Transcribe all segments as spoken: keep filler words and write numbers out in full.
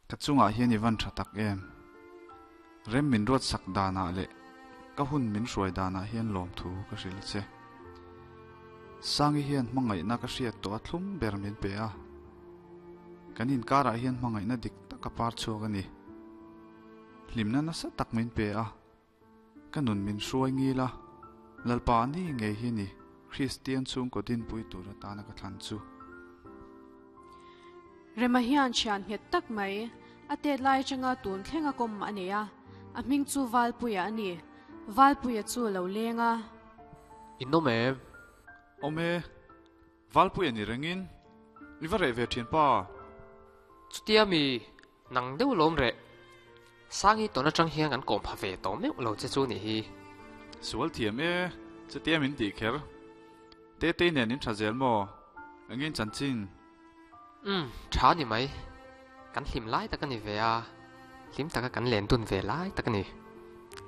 Ka chungah hian i van tha tak em. Rem min ruat sak danah leh ka hun min hruai danah hian lawmthu ka hrilh che. Sangi hian hmangaihna ka hriat tawh a thlum ber min pe a. Kan inkarah hian hmangaihna dik tak a par chhuak a ni. Hlimna nasa tak min pe a. Ka nun min hruai ngil a. Lalpa ni ngei hi ni Kristian chhungkaw dinpui tur atana ka thlan chu. Rema hian thian nghet tak mai a tet lai atanga tun thleng a kawm a nei a. A hming chu Valpuia a ni. Valpuia chu lo leng a. In awm em? Awm e. Valpuia ni rengin i va reh ve thin pa. Chutia mi nang deuh lawm reh. Sangi tawn atang hian kan kawm pha ve tawh meuh lo che chu nih hi. Sual thiam e, chutia min tih kher. Tetei nen in tha zel maw? Engin chanchin? Umm, tha ni mai. Kan hlim lai tak a ni ve a, hlim taka kan len dun ve lai tak a ni.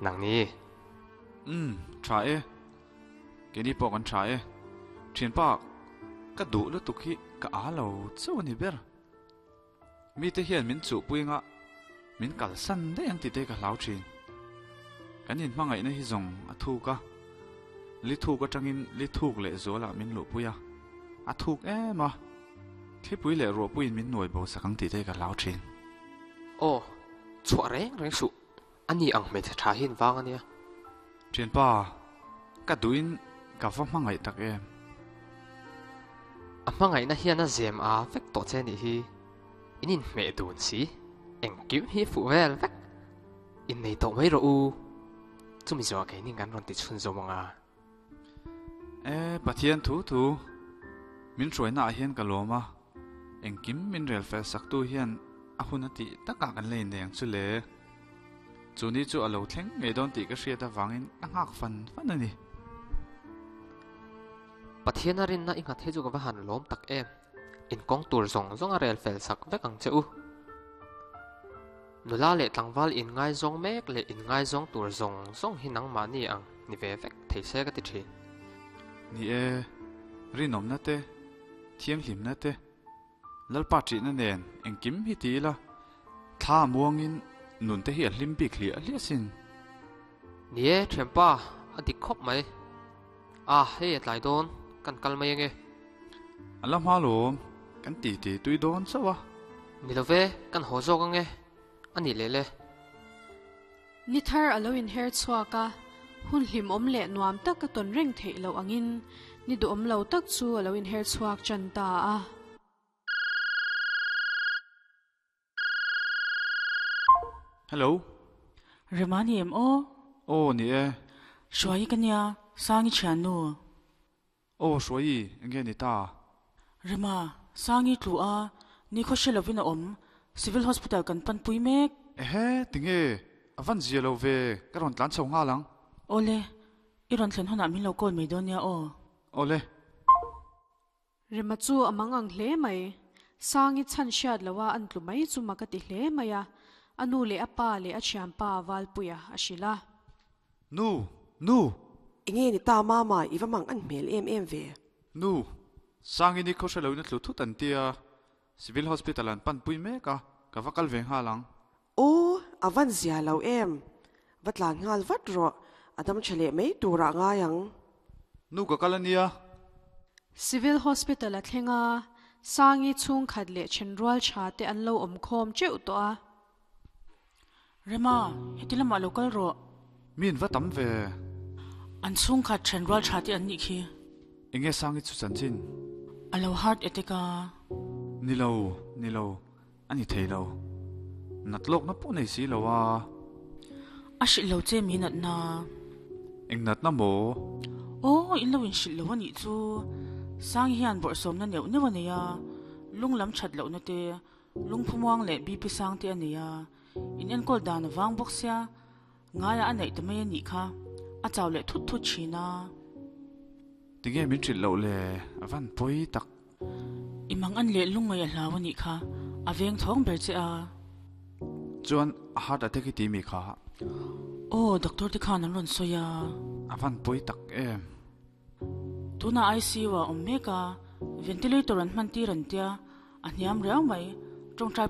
Nang ni? Umm, tha e. Keini pawh kan tha e. Thianpa, ka duh lutuk hi ka a lo chauh a ni ber. Mite hian min chuhpui anga min kalsan daih ang tite ka hlau thin. Kan inhmangaihna hi zawng a thuk a, li thuk atangin li thuk leh zualah min luhpui a, a thuk em a, thlipui leh ruahpuiin min nuai bo sak ang tite ka hlau thin. Aw, chhuah reng reng suh, a ni ang hmeichhe tha hi in vang a nia. Thianpa, ka duhin ka va hmangaih tak em? A hmangaihna hian a zem a vek tawh che nih hi. In inhmeh dun si, engkim hi fuh vel vek. Innei tawh mai rawh u. Chumi zawh keini kan rawn ti chhun zawm ang a. E, Pathian thu thu, min hruaina ah hian ka lawm a, engkim min rel fel sak tu hian a hun a tih takah kan la innei ang chu le. Chu ni chu a lo thleng ngei dawn tih ka hriat avangin ka nghak fan fan a ni. Pathian a rinna i nghat hi chu ka va han lawm tak em. Inkawng tur zawng zawng a rel fel sak vek ang che u. Nula leh tlangval inngaizawng mek leh inngaizawng tur zawng zawng hi nangmahni ang ni ve vek thei se ka ti thin. Ni e, rinawmna te, thianghlimna te, Lalpa ṭihna nen engkim hi ti ila, thla muangin nun te hi a hlim bik hliah hliah sin. Ni e, thianpa, a dik khawp mai. A, hei a tlai dawn, kan kal mai ange. A la hma lawm, kan ti ti tui dawn chauh a. Ni lo ve, kan haw zawk ange, a nih leh le. Ni thar a lo inher chhuak a, hun hlimawm leh nuam tak a tawn reng theih loh angin ni duhawm lo tak chu a lo inher chhuak tan ta a. Hello. Rema ni em aw? Aw ni e. Hruai ka nia, Sangi thiannu. Aw Hruai, enge ni ta? Rema, Sangi tlu a, ni khaw hre lovin a awm, Civil Hospital kan panpui mek. Ehe, tinge? A van zia lo ve, ka rawn tlan chho nghal ang. Awle, i rawn thlen hunah min lo call mai dawn nia aw. Awle. Rema chu a mang ang hle mai. Sangi chhan hriat loha an tlu mai chu mak a ti hle mai a, a nu leh a pa leh a thianpa Valpuia a hrilh a. Nu! Nu! Enge ni ta mama, i va mang an hmel em em ve. Nu! Sangi ni khaw hre loin a tlu thut an tia, Civil Hospital an panpui mek a, ka va kal ve nghal ang. Aw, a van zia lo em. Va tlan nghal vat rawh, a dam tha leh mai turah ngai ang. Nu ka kal a nia. Civil Hospital a thleng a, Sangi chhungkhat leh thenrual tha te an lo awm khawm teuh tawh a. Rema, heti lamah lo kal rawh. Mi in va tam ve. An chhungkhat thenrual tha te an nih khi. Enge Sangi chu chanchin? A lo heart attack a. Ni lo, ni lo, a ni thei lo. Nat lawkna pawh nei si lo a. A hrilh lo che mi natna? Eng natna maw? Aw, in lo inhrilh lo a nih chu. Sangi hian bawrhsawmna neuh neuh a nei a, lung lam that lohna te, lungphumuang leh B P sang te a nei a. In enkawl dan a vang bawk sia, ngaiah a neih ta mai a nih kha, a chau leh thut thut thin a. Tinge min hrilh loh le, a van pawi tak. I mang an leh lungngaih a hlau a nih kha, a veng thawng ber che a. Chuan a heart attack hi ti mi kha? Aw, doctor te khan an rawn sawi a. A van pawi tak em. Tunah I C U ah awm mek a, ventilator an hman tir an tia, a hniam riau mai, tawngtai